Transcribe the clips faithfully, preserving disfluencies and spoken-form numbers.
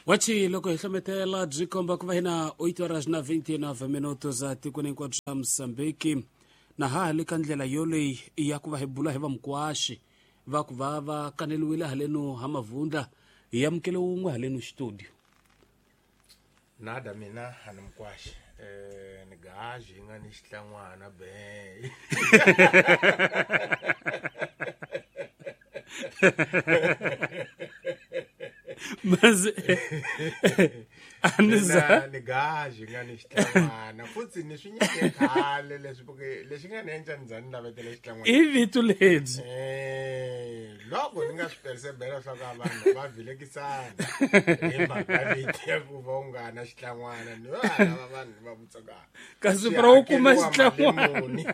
Wachi loko hi hlometela byi komba ku va hina oito horas na vinte e nove minutos a tikweni hinkwabyo ra Mozambique na ha ha le ka ndlela yoleyi ya ku va hi bula hi va mukwaxi va ku va va kaneliwile haleno ha Mavundla hi amukele wun'we haleno studio. Nada mina a ni mukwaxi eh ni gaji yi nga ni xitlangwana be. Mas Mina ni gaji nga ni xitlangwana futhi ni swi nyike khale leswi porque lexi nga ni endla ni za ni navetela xitlangwana i vito lebyi eh loko ni nga swi persevera swa ka vanhu va vilekisana hi mhaka vito ya ku va u nga na xitlangwana ni va lava vanhu va vutsaka kasi pra u kuma xitlangwana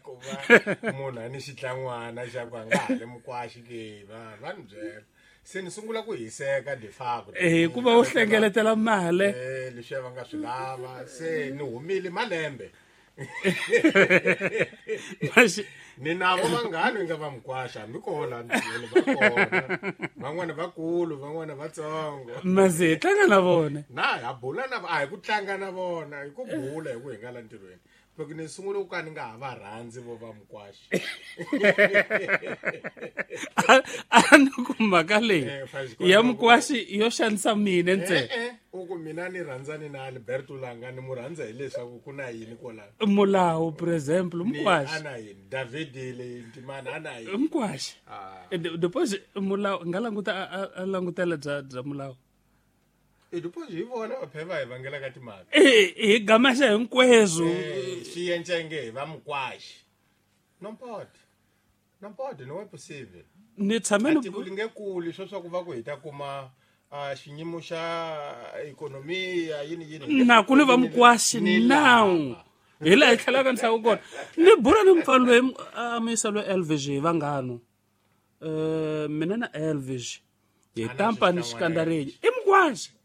ku va munhu a ni xitlangwana xa ku a nga ha le mukwaxi ke va va ni byela se ni sungula ku hiseka de facto eh ku va u hlengeletela mali eh leswi va nga swi lava se ni humile malembe ni navo vanghani nga va mukwaxa hambi kona ntirhweni va kona van'wana vakulu van'wana vatsongo mase hi tlanga na vona na ha bula na a hi ku tlanga na vona hi ku bula hi ku hi nga la ntirhweni loko ni sungule ku ka ni nga ha va rhandzi vo va mukwaxi a ni ku mhaka leyi ya mukwaxi yo xanisa mina ntsena eh u ku mina ni rhandzani na Alberto Langa ni mu rhandza hileswaku ku na yini kwalano mulawu por exemple mukwaxi ana yini David le Ntimana ana yini mukwaxi depois mulawu nga languta a langutela bya bya mulawu e depois hi vona va pheva hi vangela ka timhaka eh hi gamaxa hinkwezwo swi encenge hi va mukwaxi non pode non pode no è possibile ni tshame ni tiko li nge kuli swo swa ku va ku hi ta kuma a xinyimo xa ekonomiya yini yini na ku ni va mukwaxi now hi laha hi tlhelaka ni hlaka kona ni bula ni mupfani loyi a muyisa loyi Elvis hi vanghano um mina na Elvis hi tampa ni xikandareni i mukwaxi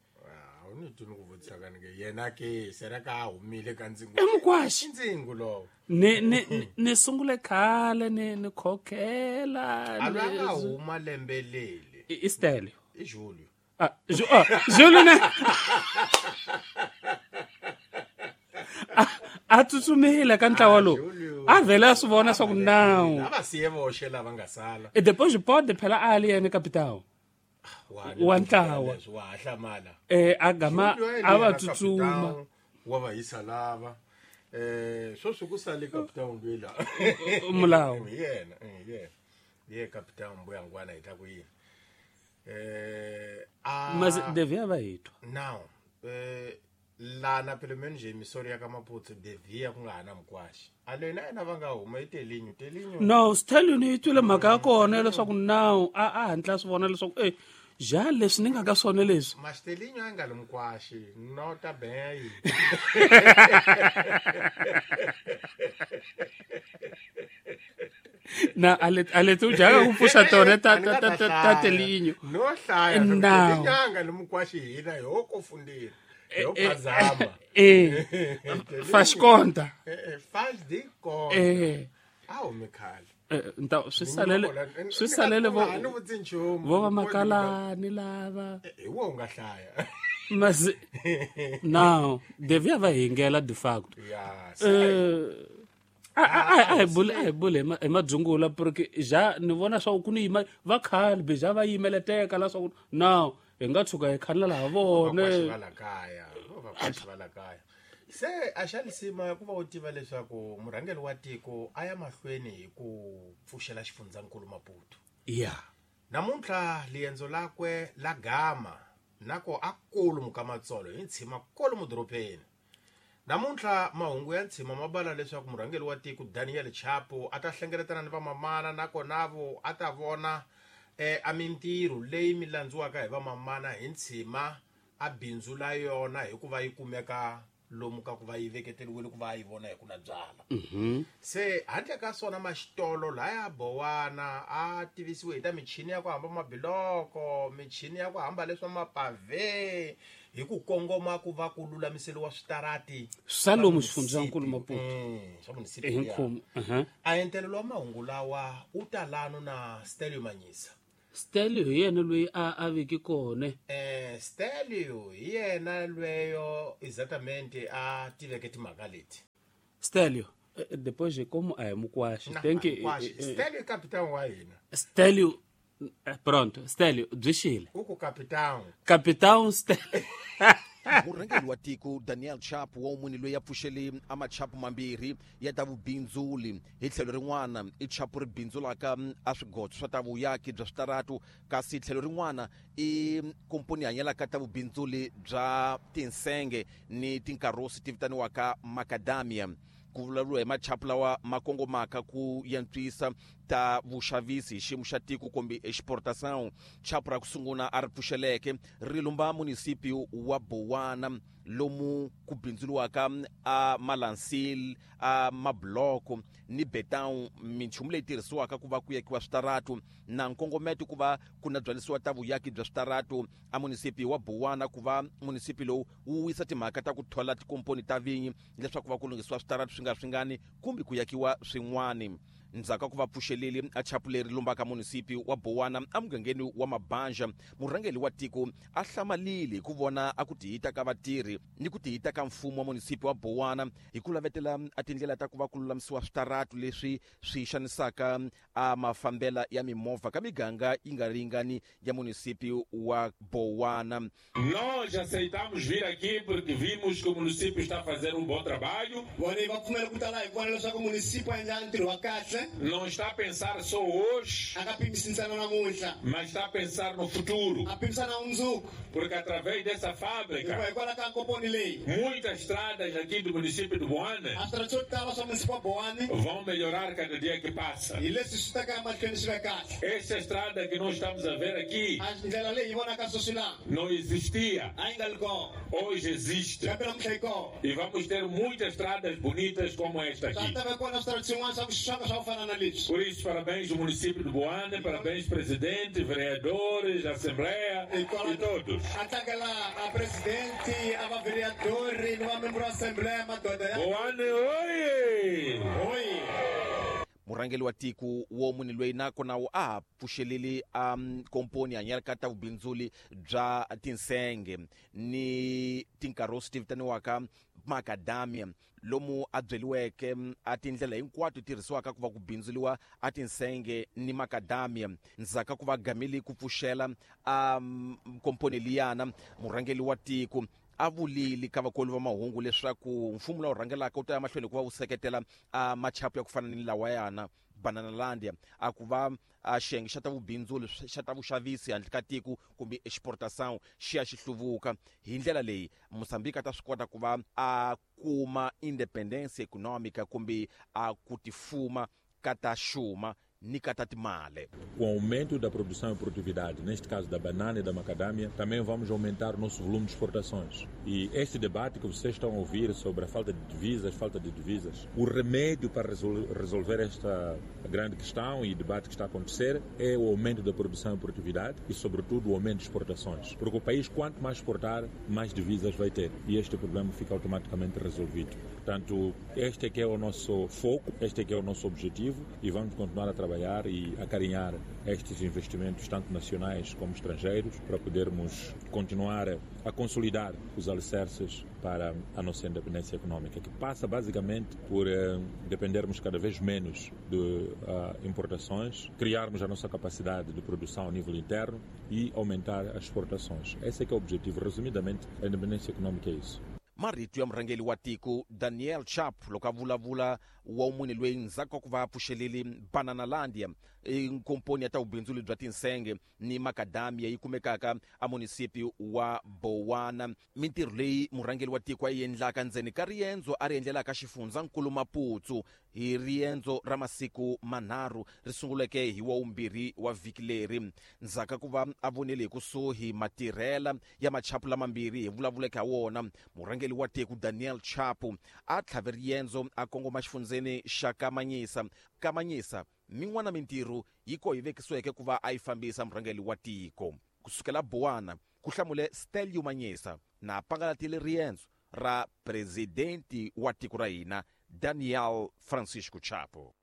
ni tuni ku vutisaka ni ke yena ke sera ka humile ka ndzingo i mukwaxi ndzingo lowo ni ni ni sungule khale ni ni khokhela a nga huma lembe leli i Stelio i Julio ah ah Julio na a tsutsumile ka ntlawa lowu a vhela a swi vona swa ku nawu a va siye voxe lava nga sala e depois pode phela a li yena capitão wa ntlawa wa hlamala eh a gama a va tsutsuma wa va yisa lava eh sweswi ku sale capitão lwela mulawu hi yena hi yena ye capitão mbuyangwana hi ta ku yini eh a mas devia va hitwa now eh lana pelo menos emissora ya ka Maputo devia ku nga ha na mukwaxi a leyi na yena va nga huma i Telinho Telinho no Stelio ni twile mhaka ya kona leswaku now a a hatla swi vona leswaku eh ja leswi ni nga ka swona leswi mas Telinho a nga li mukwaxi nota bem na ale ale tu jaga ku pfuxa tona ta ta ta ta Telinho no hlaya Telinho a nga li mukwaxi hina ho ko fundile eu pazama eh faz conta eh faz de conta eh ah o mikhale nta swi salele swi salele vo vo va makalani lava hi wo nga hlaya mas now devia va hingela de facto ya eh a a a bule a bule hi madzungula porque ja ni vona swa ku ni yima va khale be ja va yimeleteka la swa ku now hi nga tshuka hi khanela laha vone va la kaya va va va la kaya se a xa lisima ku va u tiva leswaku murhangeri wa tiko a ya mahlweni hi ku pfuxela xifundzankulu Maputo ya namuntlha liendzo lakwe la gama nako a kulu mukamatsolo hi ntshima kolo mudoropeni namuntlha mahungu ya ntshima ma bala leswaku murhangeri wa tiko Daniel Chapo a ta hlengeletana ni vamamana nakona vo a ta vona eh a mintirho leyi mi landziwaka hi vamamana hi ntshima a bindzu la yona hikuva yi kumeka lomu ka ku va yi veketeriwile ku va yi vona hi ku na byala mm-hmm. Se handle ka swona maxitolo laya bowana a tivisiwe hi ta michini ya ku hamba mabiloko michini ya ku hamba leswa mapave hi ku kongoma ku va ku lulamiseriwa switarati swa lomu xifundzankulu Maputo swa munisipi hi nkhumo a entelelo wa mahungu lawa u ta lano na Stelio Manyisa Stelio hi yena loyi a a veki kona eh Stelio hi yena lweyo exatamente a tiveke timhaka leti. Stelio, depois como a hi Mukwashi, tem que Stelio i capitão wa hina. Stelio, pronto, Stelio byi xile. U ku capitão. Capitão Stelio. Murhangeri wa tiko Daniel Chapo wa munhu loyi a pfuxele a machapu mambirhi ya ta vubindzuli hi tlhelo rin'wana i chapu ri bindzulaka a swigodzo swa ta vuyaki bya switaratu, kasi tlhelo rin'wana i komponi hanyelaka ta vubindzuli bya tinsenge ni tinkarosi ti vitaniwaka macadamia. Ku vulavuriwa hi machapu lawa ma kongomaka ku yantswisa ta vuxavisi hi xiyimo xa tiko kumbe exportação. Chapu ra ku sungula a ri pfuxeleke ri lumba munisipi wa Bowana lomu ku bindzuriwaka a malansil, a mabloko ni beton, minchumu leyi tirhisiwaka ku va ku yakiwa switaratu na nkongometo ku va ku na byalisiwa ta vuyaki bya switaratu a munisipi wa Bowana, ku va munisipi lowu wu wisa timhaka ta ku thola tikomponi ta vinyi leswaku va ku lunghisiwa switaratu swi nga swingani kumbe ku yakiwa swin'wani. Ndzhaku ka ku va pfuxeleli a chapu leri lumbaka munisipi wa Bowana emugangeni wa Mabanja, murhangeri wa tiko a hlamalile hi ku vona a ku tihita ka vatirhi ni ku tihita ka mfumo wa munisipi wa Bowana hi ku lavetela a tindlela ta ku va ku lulamisiwa switaratu leswi swi xanisaka a mafambela ya mimovha ka miganga yi nga ringani ya munisipi wa Bowana. Nós aceitamos vir aqui porque vimos que o município está a fazer um bom trabalho. Vona va pfumela ku ta laha hi vona leswaku município a endla ntirho wa kahle. Não está a pensar só hoje, mas está a pensar no futuro. Porque através dessa fábrica, muitas estradas aqui do município de Boane vão melhorar cada dia que passa. Essa estrada que nós estamos a ver aqui não existia. Hoje existe. E vamos ter muitas estradas bonitas como esta aqui. Por isso, parabéns ao município de Boane, parabéns presidente, vereadores, assembleia e todos. A presidente, a vereador, a membro da assembleia, Boane, oi! Oi! Murhangeri wa tiko wo munhu loyi nakona a ha pfuxeleli a komponi hanyelaka ta vubindzuli bya tinsenge ni tinkarosi ti vitaniwaka macadamia, lomu a byeliweke a tindlela hinkwato tirhisiwaka ku va ku bindzuliwa a tinsenge ni macadamia. Ndzhaku ka ku va gamile ku pfuxela a komponi liyana, murhangeri wa tiko a vulile ka vakoli va mahungu leswaku mfumo lowu rhangelaka wu ta ya mahlweni ku va wu seketela a machapu ya ku fana ni lawa yana Bananalandia, a ku va a xiyenge xa ta vubindzuli xa ta vuxavisi handle ka tiko kumbe exportação xi ya xi hluvuka. Hi ndlela leyi Mozambique a ta swi kota ku va a kuma independence econômica kumbe a ku tifuma ka ta xuma ni ka ta timali. Com o aumento da produção e produtividade, neste caso da banana e da macadâmia, também vamos aumentar o nosso volume de exportações. E este debate que vocês estão a ouvir sobre a falta de divisas, falta de divisas, o remédio para resolver esta grande questão e debate que está a acontecer é o aumento da produção e produtividade e, sobretudo, o aumento de exportações. Porque o país, quanto mais exportar, mais divisas vai ter. E este problema fica automaticamente resolvido. Portanto, este é que é o nosso foco, este é que é o nosso objetivo e vamos continuar a trabalhar e acarinhar estes investimentos, tanto nacionais como estrangeiros, para podermos continuar a consolidar os alicerces para a nossa independência econômica, que passa basicamente por eh, dependermos cada vez menos de uh, importações, criarmos a nossa capacidade de produção a nível interno e aumentar as exportações. Esse é que é o objetivo. Resumidamente, a independência econômica é isso. Marito ya murhangeri wa tiko Daniel Chapo loko a vulavula wa munhu loyi ndzhaku ka ku va a pfuxelele Bananalandia, nkomponi ya ta vubindzuli bya tinsenge ni macadamia yi kumekaka a munisipi wa Bowana. Mintirho leyi murhangeri wa tiko a yi endlaka ndzeni ka riendzo a ri endlelaka xifundzankulu Maputo hi riendzo ra masiku manharhu ri sunguleke hi wa vumbirhi wa vhiki leri. Ndzhaku ka ku va a vonile hi kusuhi matirhela ya machapu lamambirhi hi vulavuleke ha wona, murhangeri wa tiko Daniel Chapo a tlhave riendzo a kongoma xifundzeni xa Kamanyisa. Kamanyisa min'wana mintirho yi ko yi vekisiweke ku va a yi fambisa murhangeri wa tiko. Kusukela Bowana ku hlamule Stelio Manyisa na pangalatile riendzo ra presidenti wa tiko ra hina Daniel Francisco Chapo.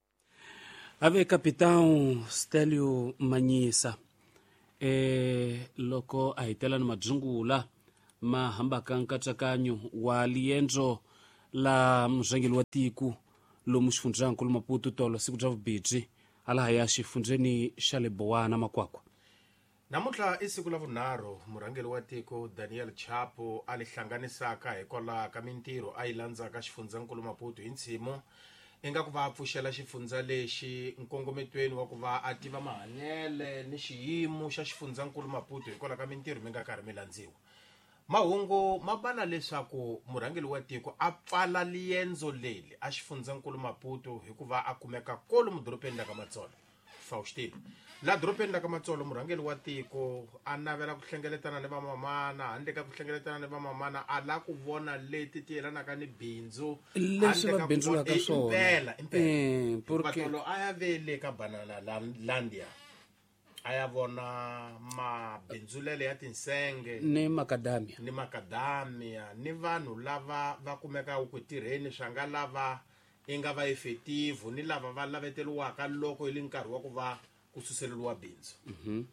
Ave capitão Stelio Manyisa eh loko a hitela ni madzungula ma hambaka nkatsakanyo wa liendzo la murhangeri wa tiko lomu xifundzankulu Maputo tolo siku bya vubidzi alaha ya xifundzeni xa le Bowana Makwakwa. Namuntlha i siku la vunharhu murhangeri wa tiko Daniel Chapo a li hlanganisaka hikwalaho ka mintirho a yi landzaka xifundzankulu Maputo hi ntshimu ingaku va pfuxela xifundza lexi nkongometweni wa ku va a tiva mahanyele ni xiyimo xa xifundzankulu Maputo hikwalaho ka mintirho mi nga karhi mi landziwa. Mahungu ma bala leswaku murhangeri wa tiko a pfala liendzo leli a xifundzankulu Maputo hikuva a kumeka kolomu doropeni la ka Matsolo. Faustino la doropeni la ka Matsolo murhangeri wa tiko a navela ku hlengeletana ni vamamana, handle ka ku hlengeletana ni vamamana a la ku vona leti ti yelanaka ni bindzu leswi va bindzulaka swona. Impela impela eh porque Matsolo a ya vele ka Banana Landia a ya vona mabindzulele ya tinsenge ni makadamia ni makadamia ni vanhu lava va kumekaka ku tirheni swa nga lava i nga va effective ni lava va laveteriwaka loko yi li nkarhi wa ku va ku suseleriwa bindzu. Mhm.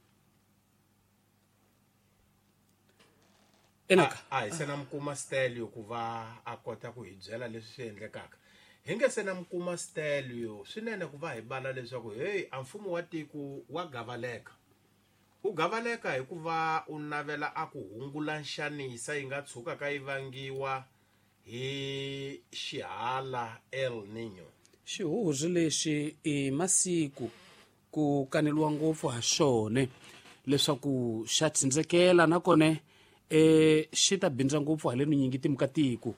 Enaka a hi se na mukuma Stelio ku va a kota ku hi byela leswi swi endlekaka. Hi nge se na mukuma Stelio swinene ku va hi bala leswaku hey a mfumo wa tiko wa gavaleka. U gavaleka hikuva u navela a ku hungula nxanisa yi nga tshukaka yi vangiwa hi xihala El Niño. Xihuhuri lexi i masiku ku kaneliwa ngopfu ha xone leswaku xa tsindzekela nakona eh xi ta bindza ngopfu haleni nyingi timhaka tiko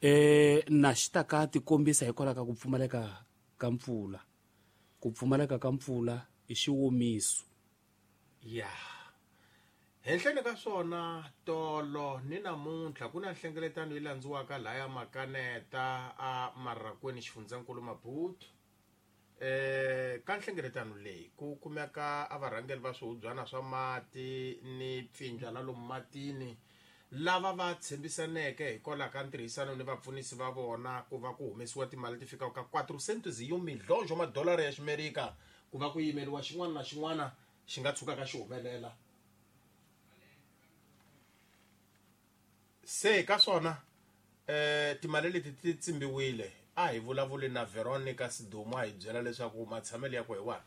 eh na xi ta ka tikombisa hikwalaho ka ku pfumaleka ka mpfula. Ku pfumaleka ka mpfula i xiwomiso. Ya henhleni ka swona tolo ni namuntlha ku na nhlengeletano yi landziwaka laya Makaneta a Marakweni xifundzankulu Maputo. Eh ka nhlengeletano leyi ku kumeka a varhangeri va swihubyana swa mati ni pfindla la lomu matini lava va tshembisaneke hikwalaho ka ntirhisano ni vapfunisi va vona ku va ku humesiwa timali ti fikaka ka quatrocentos e um milhões wa madolara ya Ximerika ku va ku yimeriwa xin'wana na xin'wana xi nga tshukaka xi humelela. Se ka swona eh timali leti ti tsimbiwile. A hi vulavuli na Veronica Sidumo a hi byela leswaku matshamelo ya ku hi wahi.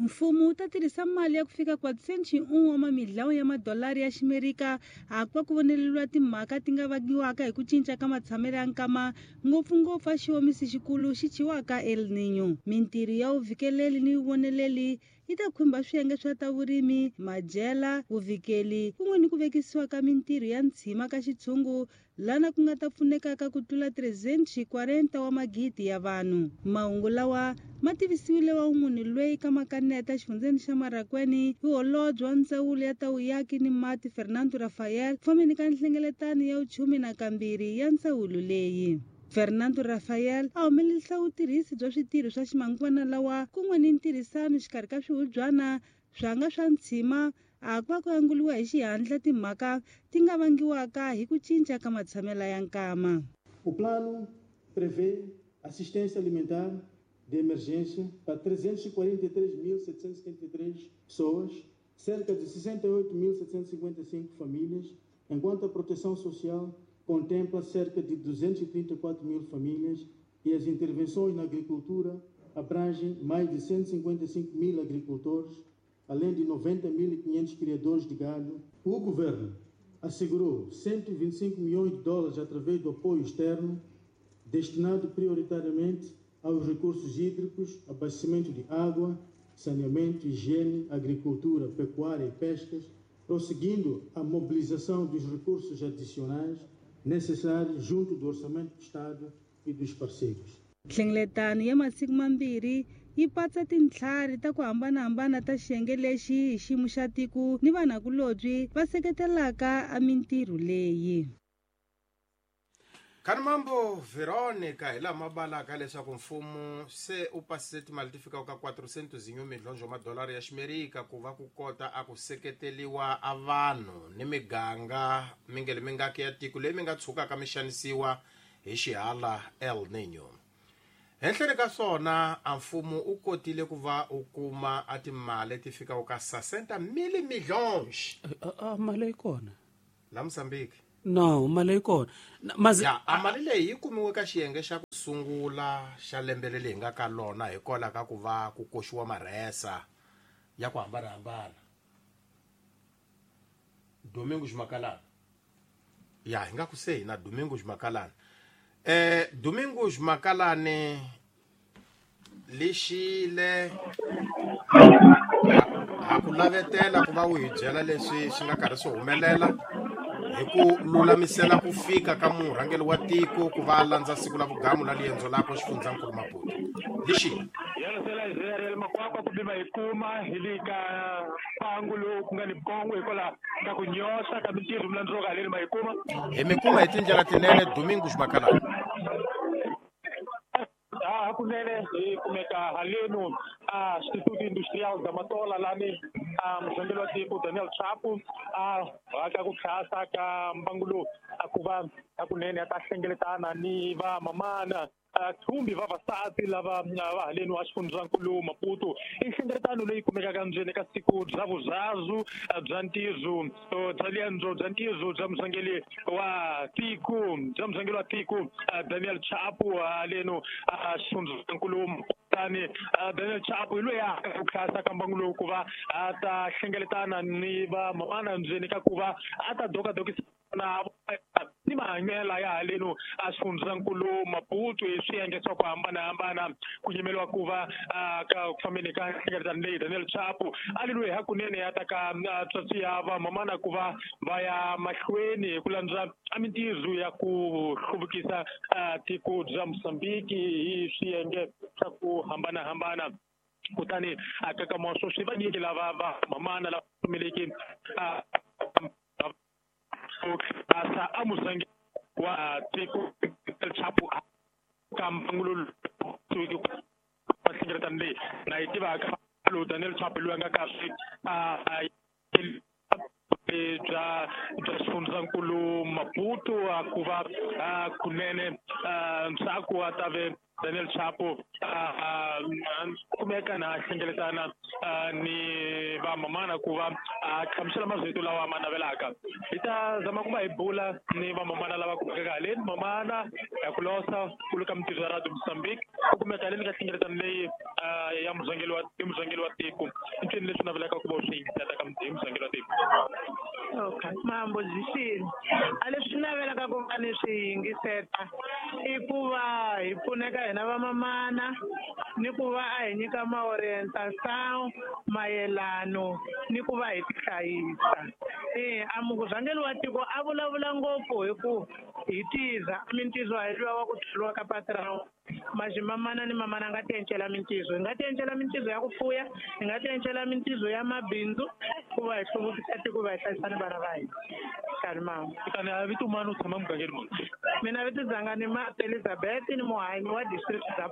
Mfumo wu ta tirhisa mali ya ku fika quatrocentos e um wa mamilhão ya madolari ya Ximerika a ku va ku voneleriwa timhaka ti nga vangiwaka hi ku cinca ka matshamelo ya nkama ngopfungopfu a xiwomisi xikulu xi thyiwaka El Niño. Mintirho ya vuvikeleli ni vuvoneleli yi ta khumba swiyenge swa ta vurimi, madyela, vuvikeli kun'we ni ku vekisiwa ka mintirho ya ntshima ka xitshungu lana ku nga ta pfunekaka ku tlula trezentos e quarenta wa magidi ya vanhu. Mahungu lawa ma tivisiwile wa munhu loyi ka Makaneta xifundzeni xa Marakweni hi holobye wa ndzawulo ya ta vuyaki ni mati Fernando Rafael fambeni ka nhlengeletano ya vuchumi na kambirhi ya ndzawulo leyi. Fernando Rafael a humelerisa vutirhisi bya switirho swa ximanguvana lawa kun'we ni ntirhisano xikarhi ka swihubyana swa nga swa ntshima a ku va ku anguliwa hi xihatla timhaka ti nga vangiwaka hi ku cinca ka matshamelo ya nkama. O plano prevê assistência alimentar de emergência para trezentos e quarenta e três mil setecentos e setenta e três pessoas, cerca de sessenta e oito mil setecentos e cinquenta e cinco famílias, enquanto a proteção social contempla cerca de duzentas e trinta e quatro mil famílias e as intervenções na agricultura abrangem mais de cento e cinquenta e cinco mil agricultores, além de noventa mil e quinhentos criadores de gado. O governo assegurou cento e vinte e cinco milhões de dólares através do apoio externo, destinado prioritariamente aos recursos hídricos, abastecimento de água, saneamento, higiene, agricultura, pecuária e pescas, prosseguindo a mobilização dos recursos adicionais necessários junto do Orçamento do Estado e dos parceiros. Nhlengeletano ya masiku mambirhi yi patsa tintlhari ta ku hambanahambana ta xiyenge lexi hi xiyimo xa tiko ni vanhakulobye va seketelaka a mintirho leyi. Kani mambo Veronica hi lama balaka leswaku mfumo se u pasise timali ti fikaka ka quatrocentos e um milhões wa madolara ya Ximerika ku va ku kota a ku seketeriwa a vanhu ni miganga mingele mingaki ya tiko leyi mi nga tshukaka mi xanisiwa hi xihala El Niño. Henhleni ka swona a mfumo u kotile ku va u kuma a timali ti fikaka ka sessenta mil milhões. A mali yi kona la Mozambique? No, mali yi kona. Mazi ya a mali leyi yi kumiwe ka xiyenge xa ku sungula xa lembe leri hi nga ka lona hikwalaho ka ku va ku koxiwa marhesa ya ku hambanahambana. Domingos Makalana. Ya hi nga ku se hina Domingos Makalana. Eh Domingos Makalane lexile ha ku lavetela ku va u hi byela leswi swi nga karhi swi humelela hi ku lulamisela ku fika ka murhangeri wa tiko ku va a landza siku la vugamu la liendzo lakwe xifundzankulu Maputo. Lexile Makwakwa kumbe va hi kuma hi le ka mpangu lowu ku nga ni bongo hikwalaho ka ku nyoxa ka mintirho milandzuka haleni ma hi kuma hi mi kuma hi tindlela tinene. Domingos Makalane. Hakunene hi kumeka haleno a Instituto Industrial da Matola lani a murhangeri wa tiko Daniel Chapo a haka ku tlhasa ka mbangu lowu a ku va hakunene a ta hlengeletana ni va mamana thumbi vavasati lava va haleni wa xifundzankulu Maputo. I nhlengeletano leyi kumekaka ndzeni ka siku bya vuzazu bya ntirho bya liendzo bya ntirho bya murhangeri wa tiko bya murhangeri wa tiko Daniel Chapo haleno a xifundzankulu. Kutani Daniel Chapo hi loyi a ku tlhasa ka mbangu lowu ku va a ta hlengeletana ni va mamana ndzeni ka ku va a ta dokadokisa na ni mahanyelo ya haleno a xifundzankulu Maputo hi swiyenge swa ku hambanahambana ku yimeriwa ku va ka ku fambeni ka nhlengeletano leyi Daniel Chapo a li loyi hakunene ya ta ka tswatsi ya vamamana ku va va ya mahlweni hi ku landza a mintirho ya ku hluvukisa tiko bya Mozambique hi swiyenge swa ku hambanahambana. Kutani a ka moswo swi vanyiki lava va mamana lava pfumeleki asa a muzangi wa tiko Chapo ka mbangu lowu hlengeletano leyi na yi tivaka lowu Daniel Chapo loyi a nga kahle a bya bya xifundzankulu Maputo a ku va kunene ntsako a ta ve Daniel Chapo kumeka na hlengeletana ni va mamana ku va a hlamusela mazito lawa ma navelaka. Hi ta zama ku va hi bula ni va mamana lava kumekaka haleni. Mamana ya ku losa ku le ka mintirho ya Radio Mozambique ku kumeka haleni ka hlengeletano leyi ya murhangeri wa murhangeri wa tiko. I ncini leswi navelaka ku va u swi yingisela ka hi murhangeri wa tiko? Okay, mambo zixini a leswi navelaka ku va ni swi yingiseta i ku va hi pfuneka hina vamamana ni ku va a hi nyika ma-orientation mayelano ni ku va hi tihlayisa. E a murhangeri wa tiko a vulavula ngopfu hi ku hi tiza mintizo a hi luwa wa ku tholiwa ka patrão. Maximamana ni mamana a nga ti encela mintizo, hi nga ti encela mintizo ya ku fuya, hi nga ti encela mintizo ya mabindzu ku va hi hluvukisa tiko va hi hlayisa ni vana va hina. Kalimama. Kutani a vito mani u tshama mugangeni muni? Mina vito dzanga ni Martha Elizabeth ni muhanyi wa district dza.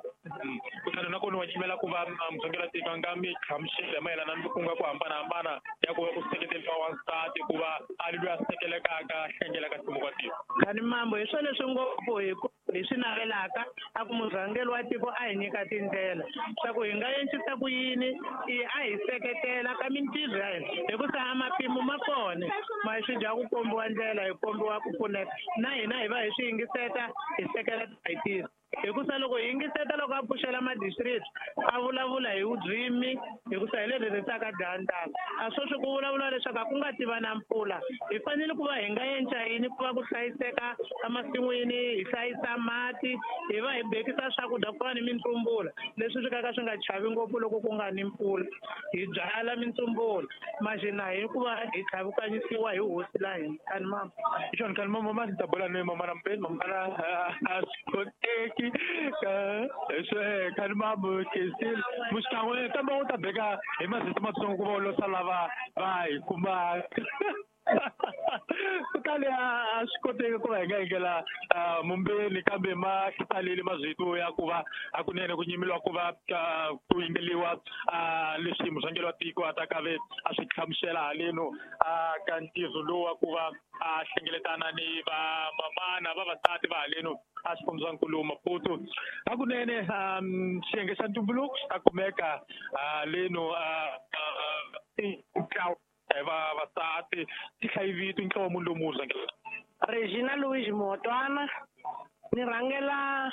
Kutani nakona wa yimela ku va murhangeri wa tiko a nga mi hlamusela mayelana ni ku nga ku hambanahambana ya ku va ku seketeriwa wansati ku va a li loyi a sekelekaka a hlengelaka nhluvuko wa tiko. Kani mambo hi swona leswi ngopfu hi ku hi swi navelaka a ku murhangeri wa tiko a hi nyika tindlela swa ku hi nga encisa ku yini i a hi seketela ka mintirho ya hina hikusa a mapimo ma kona ma swi dya ku kombiwa ndlela hi kombiwa ku pfuneka na hina hi va hi swi yingiseta hi seketela hi tisa. Hikusa loko hi yingiseta loko a pfuxela ma-district a vulavula hi vurimi hikusa hi le rirhisaka dyandza a sweswi ku vulavula leswaku a ku nga tiva na mpfula hi fanele ku va hi nga enca yini ku va ku hlayiseka emasin'wini hi hlayisa mati hi va hi bekisa swakudya ku fana ni mintsumbula leswi swi ka swi nga chavi ngopfu loko ku nga ni mpfula hi byala mintsumbula maxina hi ku va hi tlhavukanyisiwa hi hosi la hina. Kani mama hi xona kani mama ma ta bula ni mama na mpeni mamana a swi koteki swe kani mambo kesile muxikan'we kambe u ta beka hi mazito matsongo ku va u losa lava va hi kuma. Kutani a swi koteki ku va hi nga yingela mumbeni kambe ma hlalele mazwito ya ku va hakunene ku nyimeliwa ku va ku yingeliwa leswi murhangeri wa tiko a ta kave a swi hlamusela haleno ka ntirho lowu wa ku va a hlengeletana ni vamamana vavasati va haleno a xifundzankulu Maputo. Hakunene xiyenge xa ntumbuluko xi ta kumeka haleno ntlawa vavasati ti hlayi vito ntlawa munhu lomu rhangela. Regina Louis Motwana, ni rhangela